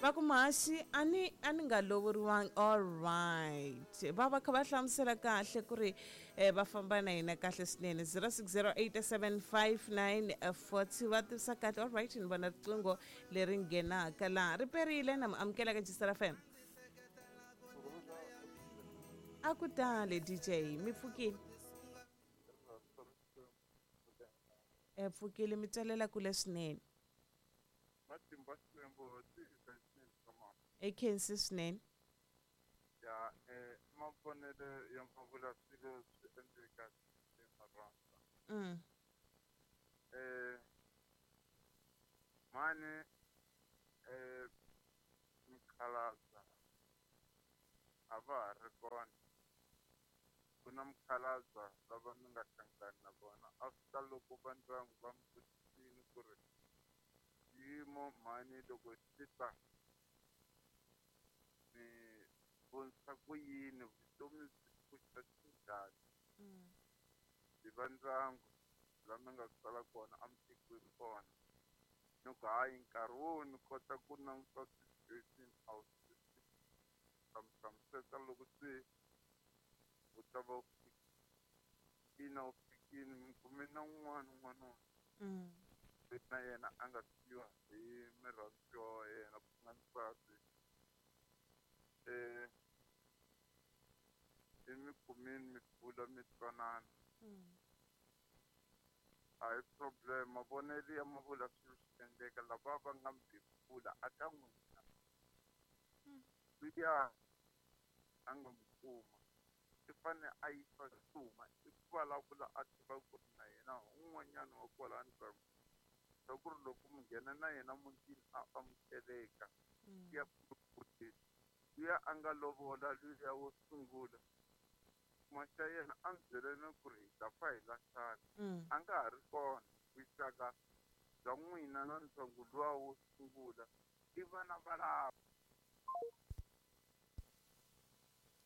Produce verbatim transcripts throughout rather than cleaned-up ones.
Va ku muhaxi a ni a ni nga lovoriwangi. All right, va va kha va hlamusela kahle ku ri eh, va famba na hina kahle swinene. zero six zero eight seven five nine four two va tivisa kahle. All right, ni vona riqingho leri nghenaka laha ri perile na mi amukela ka Jisara F M. A ku tale D J, mi pfukile? E pfukile, mi twalela kule swinene. E khensi swinene. Ya, eh mavonelo ya mavula swilo swi endleka emarhandza. Mm. Eh mani eh mukhalabye a va ha ri kona. Ku na mukhalabye lava mi nga hlangana na vona after loko va ndyangu va mi vutisile ku ri xiyimo mhani loko xi ta mi vonisa ku yini, vutomi byi pfuxa xinjhani. Hi va ndyangu la mi nga sala kona a mi tekiwi kona. Ni ku hayi nkarhi wo ni kota ku languta situation a wu ta mi hlamuseta loko se u ta va u fikile, u fikile mi kume na un'wana n'wanuna. Mm. Na yena a nga siyiwa hi murhandziwa wa yena ku nga nsati. Eh, i mi kumile mi bula mi twanana. A hi problem, mavonelo ya mavula swilo swi endleka lava va nga mi bebula a ka n'wina. Luya a nga mi kuma i fanele a yisa xuma, i ku vulavula a tiva ku ri na yena un'wanyana wa kwala ndyangu. Swa ku ri loko mi nghena na yena mutini a amukeleka. Ya luya a nga lovola luya wo sungula. Maxa yena a ndzi byele na ku ri hi ta fa hi lahlana. A nga ha ri kona vuxaka bya n'wina na ndyangu luwa wo sungula i vana va lava.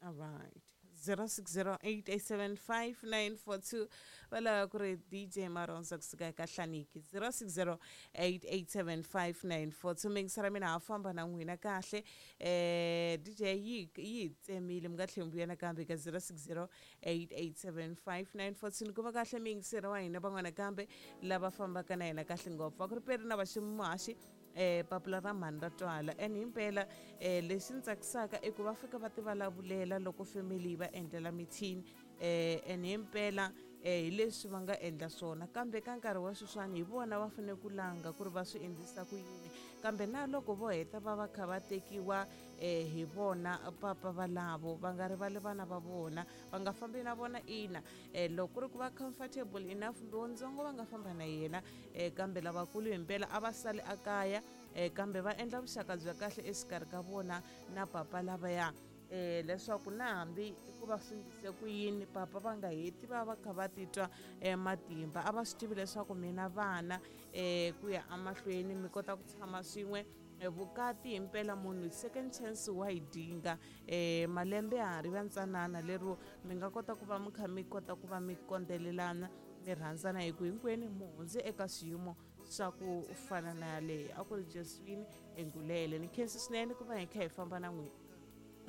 All right. zero six zero eight eight seven five nine four two. Va lava ku ri D J Marondza kusuka eka Hlaniki. zero six zero eight eight seven five nine four two. Mingisara mina ha famba na n'wina kahle. Eh, D J yi, yi tsemile mi nga tlheli mi vuya nakambe ka zero six zero eight eight seven five nine four two. Ni kuma kahle mingisera wa hina van'wana kambe lava fambaka na hina kahle ngopfu. Va ku ri peri na va ximuhaxi. Eh, papila ra mhani ra twala. And himpela, eh, lexi ni tsakisaka i ku va fika va ti vulavulela loko family yi va endlela meeting. Eh, and himpela, eh, hi leswi va nga endla swona. Kambe ka nkarhi wa sweswiwani hi vona va fanele ku langa ku ri va swi endlisa ku yini. Kambe na loko vo heta va va kha va tekiwa, eh, hi vona papa valavo, va nga rivali vana va vona, va nga fambi na vona ina. Eh, loko ku ri ku va comfortable enough, lowuntsongo va nga famba na yena, eh, kambe lavakulu himpela a va sali ekaya, eh, kambe va endla vuxaka bya kahle exikarhi ka vona na papa lavaya. Eh, leswaku na hambi ku va swi endlise ku yini, papa va nga heti va va kha va titwa, eh, matimba. A va swi tivi leswaku mina vana, eh, ku ya emahlweni mi kota ku tshama swin'we. Eh, vukati himpela munhu second chance wa yi dinga. Eh, malembe ya ha ri va ntsanana lero mi nga kota ku va mi kha mi kota ku va mi kondelelana, mi rhandzana hi ku hinkwenu mi hundze eka swiyimo swa ku fana na yaleyo. A ku ri Josephine Engulele. Ni khensa swinene ku va hi kha hi famba na n'wina.